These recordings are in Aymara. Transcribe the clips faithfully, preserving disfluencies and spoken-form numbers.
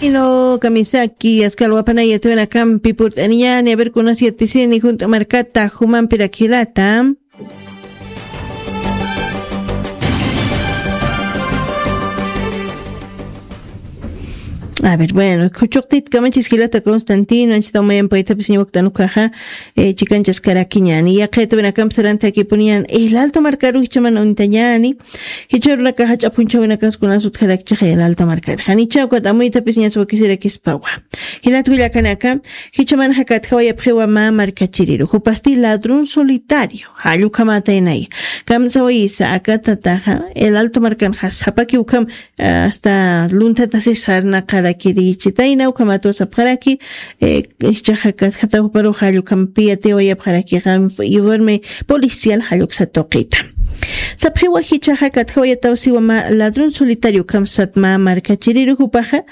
Ino kamisaki askalwapanaya tuwinakampi purt'aniñani, a ver, kunas yatisini junt'u markata jumampirak jilata. A ver, bueno, kuchuqtit kamachis jilata Constantino, anchita umayan paytapis ñawaktan ukaxa, eh, chikanchas karakiñani. Yaqita winakam sarantakipuniñan, el alto markaru jichaman untañani. Jichurunakaxa ch'apunchawinakas kunas utjarakchixa el alto markar. Janicha ukat amuytapis ñas wakisirakispawa. Jilat willakanaka, jichaman jakatjawayapxiwa mä markachiriru. Jupasti ladrón solitario. Jallukhamataynay. Kamsawayisa akatataxa, el alto markanxa, sapaki ukham, hasta lunthatasi sarnaqarakirichitayna, ukhamatu sapxaraki, eh, ichaxa katjatawparu jallukhampi yatiwayapxarakixa, informe policial jalluksa tuqita. Sapxiwa jichaxa katjawayataw siwa mä ladrón solitario kamsat mä markachiriru jupaxa,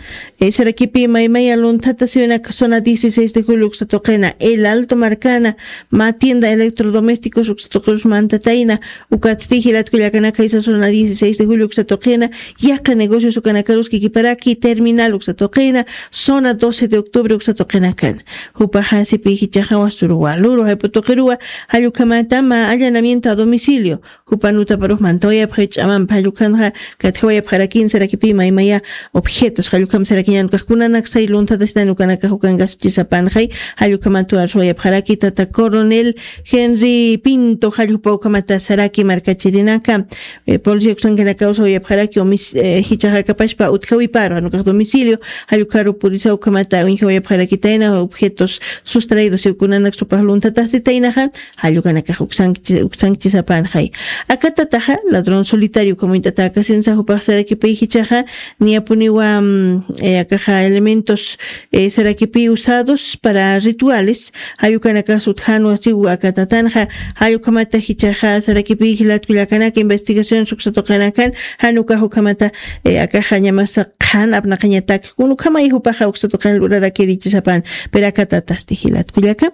eh, sarakipi maymaya lunthata siwinak zona dieciséis de julio uksa tuqina, El Alto markana, mä tienda electrodomésticos uksa tuqirus mantatayna, ukatsti jilat kullakanaka jisa zona dieciséis de julio uksa tuqina, yaqha negocios ukanakarus kikiparaki, terminal uksa tuqina, zona doce de octubre uksa tuqinakan. Jupaxa sipi jichaxa wasuru waluru jayp'u tuqiruwa, jallukhamata mä allanamiento a domicilio. Jupan utaparux mantawayapxi ch'amampi, jallukhanxa katjawayapxarakin sarakipi maymaya objetos, jallukhamp sarakiñan ukax kunanak say lunthata sinan ukanakax ukan kasuchisapanxay, jallukhamat arsuwayapxaraki tata coronel Henry Pinto, jallukpa ukhamata saraki markachirinaka, eh, policía uksankanaka usawayapxaraki, omis-, eh, jichaxa kapashpa utjawiparu, jan ukax domicilio, jallukharu purisa ukhamata uñjawayapxarakitayna objetos sustraídos, y kunanak supax lunthata sitaynaxa, jallukanakax uksank-, uksankchisapanxay. Akatataxa, ladrón solitario, como int'atakasinsa jupax sarakipi jichaxa, niyapuniwa, mm, eh, akaxa elementos, eh, sarakipi usados para rituales, jallukanakax utjanwa siw akatatanxa, jallukhamata jichaxa, sarakipi jilat kullakanaka investigación suksa tuqinakan, jan ukax ukhamata, eh, akaxa ñamasa qhan apnaqañatak, kun ukhamay jupaxa uksa tuqin lurarakirichisapan, pero akatatasti jilat kullaka.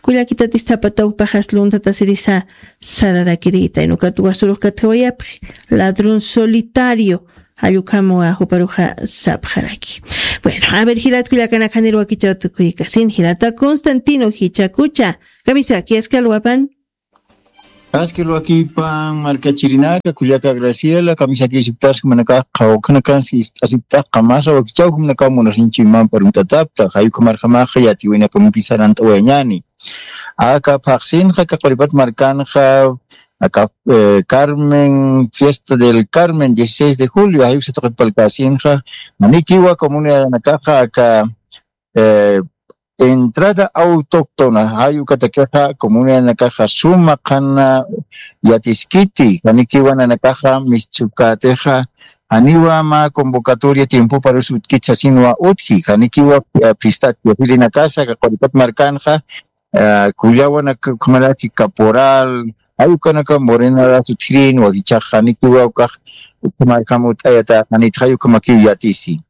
Kullakitatis thapatawpaxas luntatasirisa sararakirita, inukat wasurux katjawayapxi, ladrón solitario, jallukhamwa juparuxa sapxaraki. Bueno, a ver, jilat kullakanaka janir wakichaw tukuykasin, jilata Constantino jichakucha, kamisaki, askalwapan. Askalwakipan markachirinaka, kullaka Graciela, kamisaki siptas, manaka, qhawkanakan, sist'asiptax, qamasa wakichaw, manaka, munasinchi, man, paruntatapta, jayukamarjamaxa, yatiwinakamupi sarant'awayañani. Aka phaxsinxa, aka Quripat markanxa, aka, eh, Carmen, fiesta del Carmen, dieciséis de julio, ayuk satuqit palkasinxa, manikiwa comunidad nakaxa, aka, eh, entrada autóctona, ayuk atakexa, comunidad nakaxa, suma qhana yatiskiti, manikiwa nanakaxa, mischukatixa, aniwa ma convocatoria tiempo para utkit sasinwa utji, anikiwa, eh, fiesta, fiesta de la casa, aka Quripat markanxa, ah, kullawanak ukhamaraki caporal, jayukanaka morenarasu chhirin, wakichax janikiwa ukax ukhamarkam ut'ayata, janit jayukamakiw yatisi.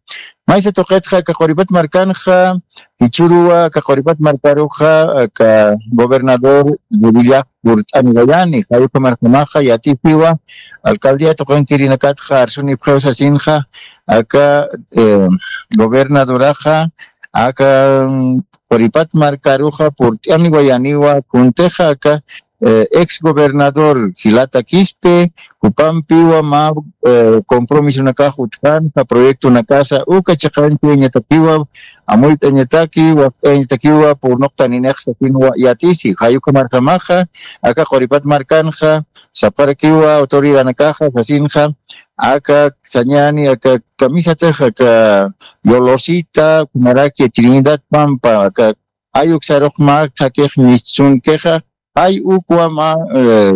Maysa tuqitxa aka Quripat markanxa, jichhüruwa aka Quripat markaruxa, aka gobernador Revilla purt'aniwayani, jayukamarkamaxa yatisiwa, alcaldía tuqinkirinakatxa arsunipxiw sasinxa, aka, eh, gobernadoraxa, aka, mm, Quripat markaruxa purt'aniwayaniwa, kuntixa aka, eh, ex gobernador Jilata Quispe, jupampiwa mä, eh, compromisonakax utjkänxa, proyectonakasa, uka chiqanchañatakiwa, amuyt'añataki, wakt'ayañatakiwa, purnuqtaninix sasinwa yatisi, jayukamarjamaxa, aka Quripat markanxa, sapxarakiwa autoridadnakaxa, sasinxa, aka sañäni, aka kamisatix, aka Yolosita, kumaraki Trinidad Pampa, aka ayuk sarux mä thakix mischunkixa, jay ukwa mä, eh,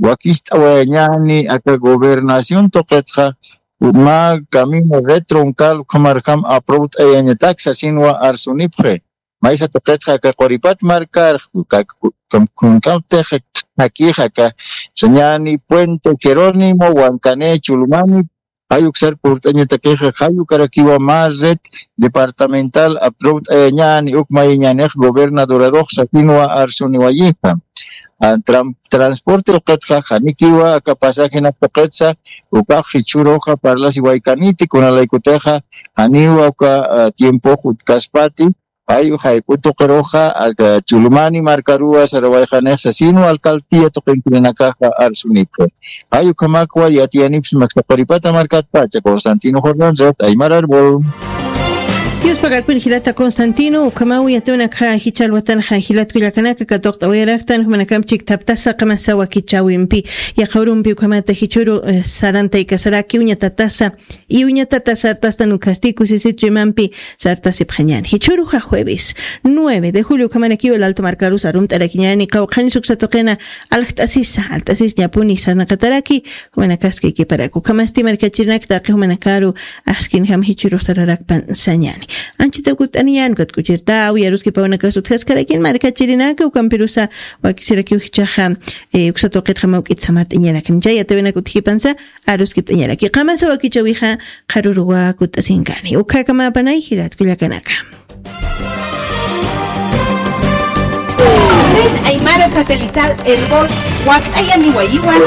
wakist'awayañäni aka gobernación tuqitxa, mä camino red troncal ukhamarjam aprobayañatak sasinwa arsunipxi. Maysa tuqitxa aka Quripat markar, ka-, ka-, kunkamtix thakix aka sañäni Puente Jerónimo, Huancané, Chulumani, jay uksar purt'añatakixa, jay ukarakiwa mä red departamental aprobayañäni, uk mayañänix gobernadorarux sasinwa arsuniwayixa. ah, tram-, transporte tuqitxa, janikiwa aka pasajenak tuqitsa, ukax jichhüruxa parlasiwaykaniti, kunalaykutixa janiwa uka, ah, tiempox utkaspati, jay jayp'u tuqiruxa, aka Chulumani markaruwa sarawayxanixa, sino alcaldía tuqinkirinakaxa arsunipxi. Jay ukhamakwa yatiyanipxsma tuqiripata markatpacha. Constantino Jordán, Red Aymar Árbol. Dios pagarpun jilata Constantino, ukhamaw yatiwanakxa jichhärwatanxa jilat kullakanaka katuqt'awayaraktan, jumanakamp chikthaptasa qamasa wakichäwimpi, yaqha urumpi ukhamata jichhüru, eh, sarantaykasaraki uñatatasa, y uñatatasa sartastan ukhasti kusisit chuymampi sartasipxañäni. Jichhüruxa jueves nueve de julio ukhamarakiw Alto markarus arumt'arakiñäni, qawqhanis uksa tuqina aljt'asisa, aljt'asisñapuni sarnaqataraki, jumanakaskaykiparak. Ukhamasti markachirinak taqi jumanakaru askinjam jichhürux sararakpan sañäni. Anchhitaw kutt'aniñäni, ukat k'uchirtawi aruskipaw unakas utjaskarakin markachirinaka, ukampirusa wakisirakiw jichhaxa, eh, uksa tuqitxa mawk'it samart'añarakni. Chay yatiwanak utjipansa aruskipt'añaraki. Qamasa wakichäwixa qharüruwa kutt'asinkani. Ukhakamapanaw jilat kullakanaka. Red Aymara Satelital Erbol, wakt'ayaniwayiwan.